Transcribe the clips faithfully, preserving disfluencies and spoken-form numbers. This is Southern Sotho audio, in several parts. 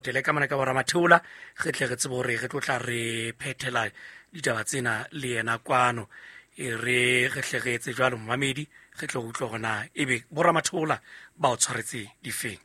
Tele ka mona ka boramatheola re tle re tsebe hore re tlo tla re phethela ditaba tsena le yena kwano. E re re hle re etse jwalo momamedi, re tlo utlwa hore na ebe boramatheola ba o tshwaretse difeng.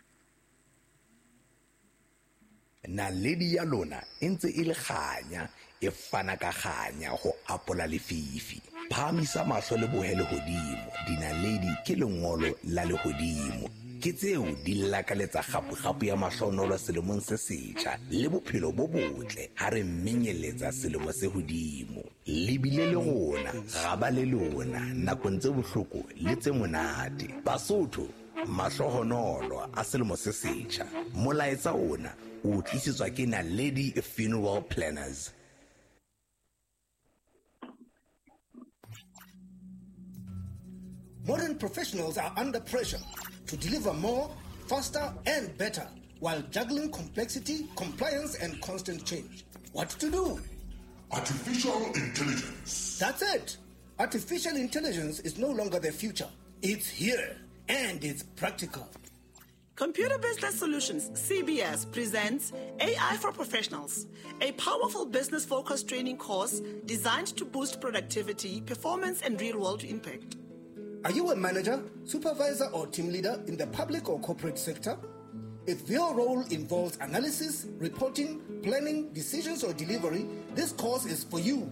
Naledi ya lona e ntse e le kganya, e fana ka kganya ho apola lefifi. Phahamisa mahlo le bohe lehodimo, dinaledi ke lengolo la lehodimo. Ke tseo di lakaletsa kgapu-kgapu ya mahlonolo selemong se setjha le bophelo bo botle ha re menyeletsa selemo se hodimo. Le bile le rona, ra ba le lona nakong tse bohloko le tse monate. Basotho, mahlohonolo a selemo se setjha. Molaetsa ona o tlisetswa ke Naledi Funeral Planners. Modern professionals are under pressure to deliver more, faster, and better while juggling complexity, compliance, and constant change. What to do? Artificial intelligence. That's it. Artificial intelligence is no longer the future. It's here, and it's practical. Computer Business Solutions, C B S, presents A I for Professionals, a powerful business-focused training course designed to boost productivity, performance, and real-world impact. Are you a manager, supervisor, or team leader in the public or corporate sector? If your role involves analysis, reporting, planning, decisions, or delivery, this course is for you.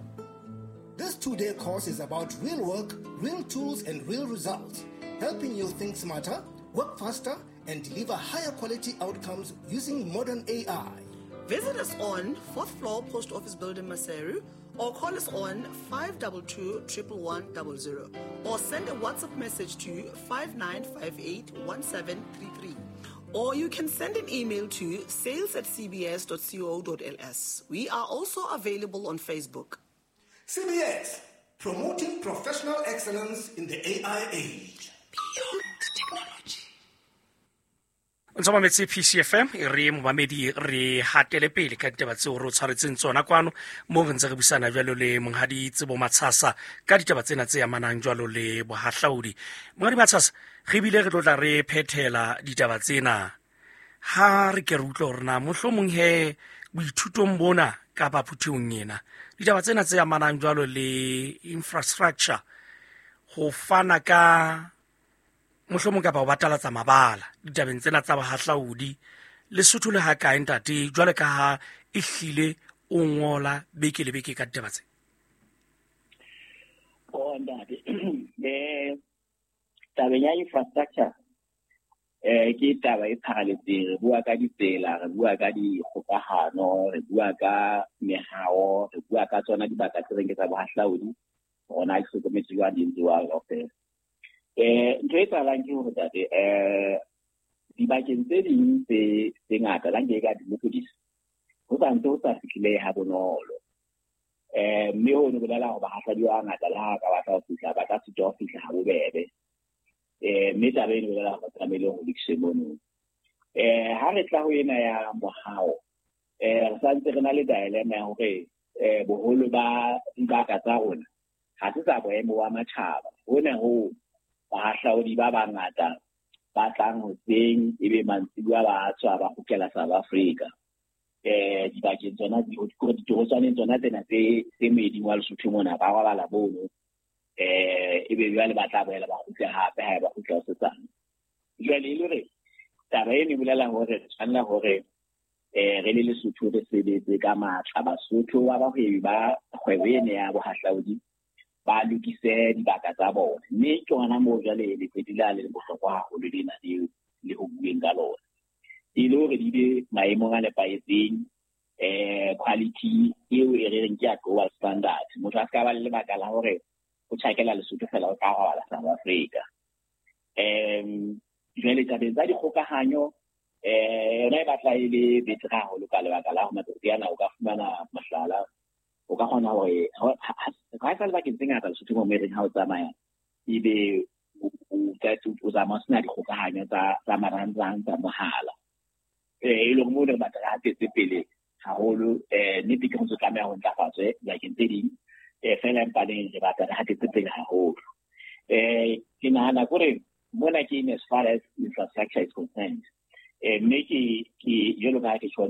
This two-day course is about real work, real tools, and real results, helping you think smarter, work faster, and deliver higher quality outcomes using modern A I. Visit us on fourth floor Post Office Building, Maseru, or call us on five two two, one one one zero, or send a WhatsApp message to five nine five eight, one seven three three. Or you can send an email to sales at c b s dot co dot l s. We are also available on Facebook. C B S, promoting professional excellence in the A I age. Beyond technology. O ntse o mametse P C F M, e re momamedi re hatele pele ka ditaba tseo re o tshwaretseng tsona kwano, moo re ntse re buisana jwalo le Monghadi Tsebo Matshasa ka ditaba tsena tse amanang jwalo le bohahlaudi. Monghadi Matshasa, re bile re tlo tla re phethela ditaba tsena. Ha re ke re utlwe hore na mohlomong he boithutong bona kapa phuthehong ena, ditaba tsena tse amanang jwalo le infrastructure, ho fana ka mohlomong kapa ho batalatsa mabala ditabeng tsena tsa bohahlaudi, Lesotho le ha kae ntate, jwale ka ha e hlile o ngola beke le beke ka ditaba tse? Oh ntate, eh tabeng ya infrastructure eh ke taba e pharaletseng. Re bua ka ditsela, re bua ka dikgokahano, re bua ka mehao, re bua ka tsona dibaka tse reng ke tsa bohahlaudi, rona ke hlokometse jwang di ntse jwang kaofela. Eh ntho e etsahalang ke hore tate, eh dibakeng tse ding tse tse ngata la nke ka di-lokodisa, ho sa ntse ho sa fihlile ha bonolo. Eh mme ho no bolela hore bahahlaudi ba bangata le ha ka batla ho fihla, ba tla sitwa ho fihla ha bobebe. Eh mme taba eno e bolela hore tlamehile ho lokiswe mono. Eh ha re tla ho ena ya mohao, eh re santse re na le dilemma ya hore eh boholo ba dibaka tsa rona ha se tsa boemo wa matjhaba. Hona ho bahahlaudi ba bangata ba tlang hoseng ebe mantsibuya ba tswa ba kgutlela South Africa. Eh dibakeng tsona ditorotswaneng tsona tsena tse tse moeding wa Lesotho mona ba robala mono. Eh ebe jwale ba tla boela ba kgutle hape ha ba kgutla hosetsana. Jwale e le hore taba eno e bolela hore re tshwanela hore eh re le Lesotho re sebetse ka matla. Basotho ba bahwebi ba kgwebo ena ya bohahlaudi ba lokise dibaka tsa bona, mme ke hona moo jwale letsatsi la le bohlokwa haholo lena leo le ho bueng ka lona, e le hore di be maemong a nepahetseng, eh quality eo e re reng ke ya global standard. Motho a ska ba le lebaka la hore o tjhakela Lesotho fela o ka robala South Africa. Em jwale tabeng tsa dikgokahanyo, eh yona e batla e le betere haholo ka lebaka la hore matsatsi ana o ka fumana mohlala, o ka kgona hore ha e sa le bakeng tse ngata Lesotho mo mereng ha o tsamaya ebe o tsamaya o sena dikgokahanyo tsa tsa marangrang tsa mohala. Eh e le hore moo re batla re hatetse pele haholo. Eh nnete ke ho ntse tlameha ho ntlafatswe dibakeng tse ding, eh fela empaneng re batla re hatetse pele haholo. Eh ke nahana hore mona ke in as far as infrastructure is concerned. Eh mme ke ke jwalo ka ha ke tjho